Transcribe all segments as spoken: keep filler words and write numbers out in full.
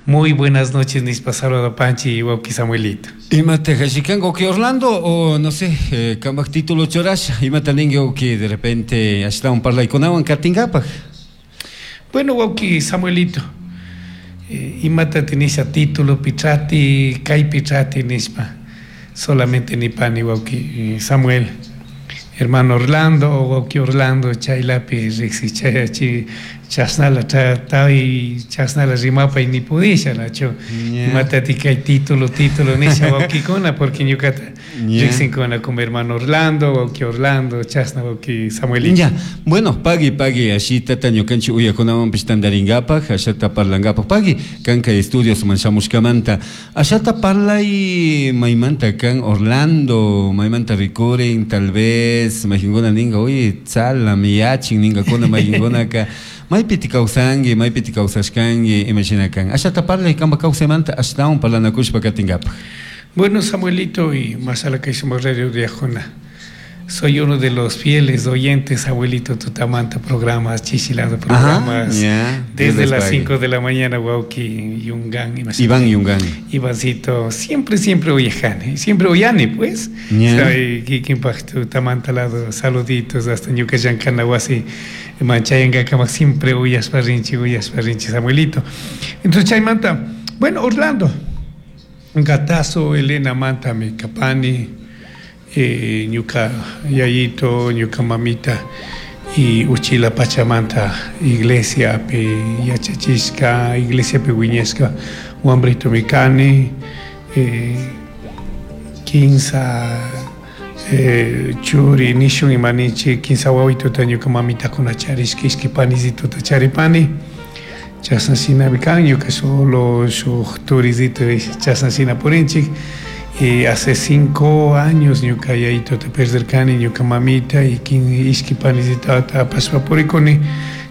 Muy buenas noches, nishpa saludapanchi wawki Samuelito. Imata hashikan que Orlando o no sé, eh, kambaj título churasha, imata ningi que de repente ashtawan parlaykunawan katingapaj. Bueno, wawki Samuelito, eh, imata tinisha título pichati, kay pichati nishpa, solamente nipani wawki Samuel. Hermano Orlando o wawki Orlando chaylapi riqsichachi chasnala tawi chasnala rimapay nipudisha nachu imatati kay título título nisha wawkikuna porque ñukata riqsinkuna como hermano Orlando wawki Orlando chasna wawki Samuelito. Ya, bueno, pagui pagui ashitata ñukanchik uyakunawanpish tantaringapaj ashata parlangapaj pagui kanka estudios man shamushkamanta ashata parlay maymanta kan Orlando maymanta rikurin tal vez maykinkuna ninka oye tzala miyachin ninkakuna maykinkunaka maypiti kawsanki maypiti kawsashkanki imashina kan ashata parlay kanpak kawsaymanta ashtawan parlanakushpa katingapaj. Bueno, Samuelito y Masala Kaisuma Radio de Ajona. Soy uno de los fieles oyentes, abuelito tutamanta, programas, chichilado programas. Ajá, desde las cinco de la mañana, wawki, Yungan. Iván Yungan. Ivancito, siempre, siempre oyejane, siempre oyane, pues. Yeah. Kikinpaj tutamanta lado, saluditos hasta ñuka llankana wasi, manchayanga kama siempre uyashpa rinchi, uyashpa rinchi, Samuelito. Entonces, chaymanta, bueno, Orlando, Gatazo, Elena Manta, mi kapani, eh, ñuka yayito, ñuka mamita y uchila pachamanta iglesia pi yachachishka, iglesia pi wiñashka, wambrito mi kani, eh, kinsa eh, churi nishun imanichi, kinsa wawituta ñuka mamitakuna charishka, ishki panisituta charipani. Chasna shinami kan, ñuka solo shuk turisito chasna shina purinchik. Y hace cinco años ñuka yayito te perderkani, ñuka mamita y ishki panisita apashpa purikuni.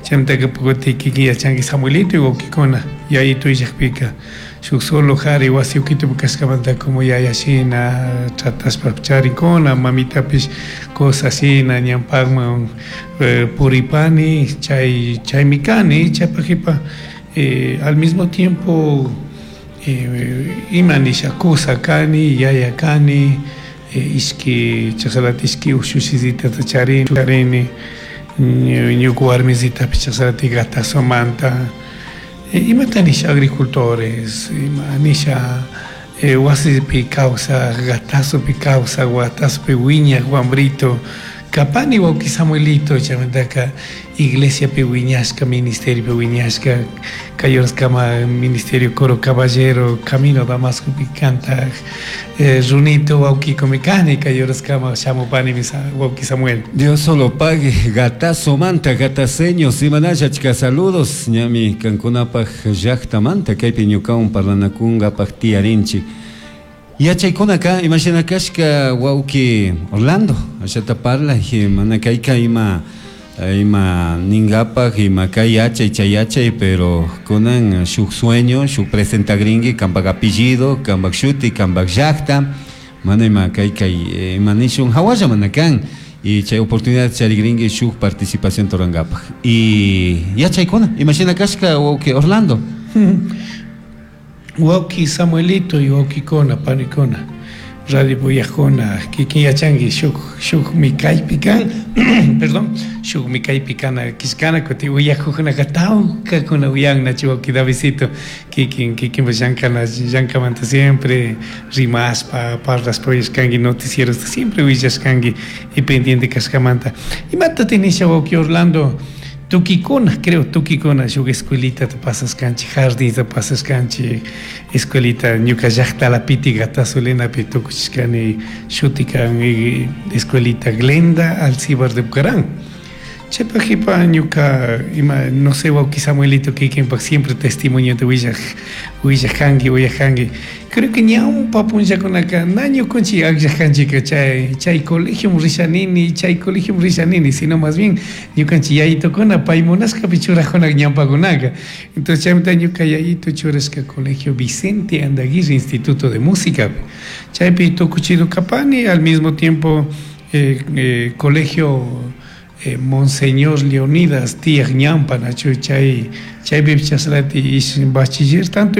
Chaymantaka pukuti kikin yachanki Samuelito y wawkikuna yayito illakpika shuk solo jari wasi ukitupi kashkamanta como yaya shina tratashpa charinkuna, mamitapish cosas shina ñampakman eh, puripani, chay chaymi kani, chaypak jipa eh, al mismo tiempo eh, ima nisha kusa kani, yaya kani, eh, ishki chashalati ishki ushushizitata charini, charini, ñuka warmisitapish chashalati Gatazomanta, eh, imata nisha agricultores, ima nisha eh, wasipi kawsaj, Gatazopi kawsaj, Gatazopi wiñaj wambrito, kapani wawki Samuelito, chaymantaka iglesiapi wiñashka, ministeriopi wiñashka, kay horaskama ministerio Coro Caballero, Camino Damascopi kantaj, eh, runito wawkikumi kani, kay horaskama shamupani wawki Samuel. Dios solo pague, Gatazomanta, gataceños, imanalla achka saludos, ñami kankunapaj llaktamanta, kaypi ñukawan parlanakunkapaj tiyarinchik. Yachaykunaka, imashina kashka wawki Orlando, ashata parla, mana kayka ima ima ningapaj, ima kay yachay, chay yachay, pero kunan shuk sueño, shuk presentagringi, kambak apellido, kambak shuti, kambak llakta, mana ima kay kay ima nishun hawalla mana kan, y chay oportunidad charigringi shuk participación torangapaj. Y yachaykuna, imashina kashka wawki Orlando. Wawki Samuelito y wawkikuna, panikuna, radio puyajkuna, kikin yachanki shuk shukmi kaypi kan, perdón, shukmi kaypi kana kishkana kuti uyajukkunaka tawkakuna uyannachu wawki Davidcito, kikin kikinpash llankana llankamanta siempre rimashpa parlashpa uyashkanki noticierosta siempre willashkanki y pendiente kashkamanta. Imata tinisha wawki Orlando, tukikuna, creo, tukikuna, shuk escuelita te pasashkanchik, jardín te pasashkanchik, escuelita ñuka llaktalapiti Gatazo Elenapi tukuchishkani shutikan escuelita Glenda Alcibar de Bucarán. Chaypak jipa ñuka ima, no sé, wawki Samuelito kikinpak siempre testimonio te willaj, willajanki, willajanki. Creo que ñawpa punllakunaka na ñukunchik akllajanchika chay, chay colegio rishanini, chay colegio rishanini, sino más bien ñukanchik yayitokuna pay munashkapi churajuna ñawpakunaka. Entonces chaymanta ñuka yayito churashka colegio Vicente Andaguirre, Instituto de Música. Chaypi tukuchido kapani, al mismo tiempo eh, eh, colegio eh, Monseñor Leonidas Tiaj Ñampa, nachu chay, chaypi chashlati ish bachiller tanto en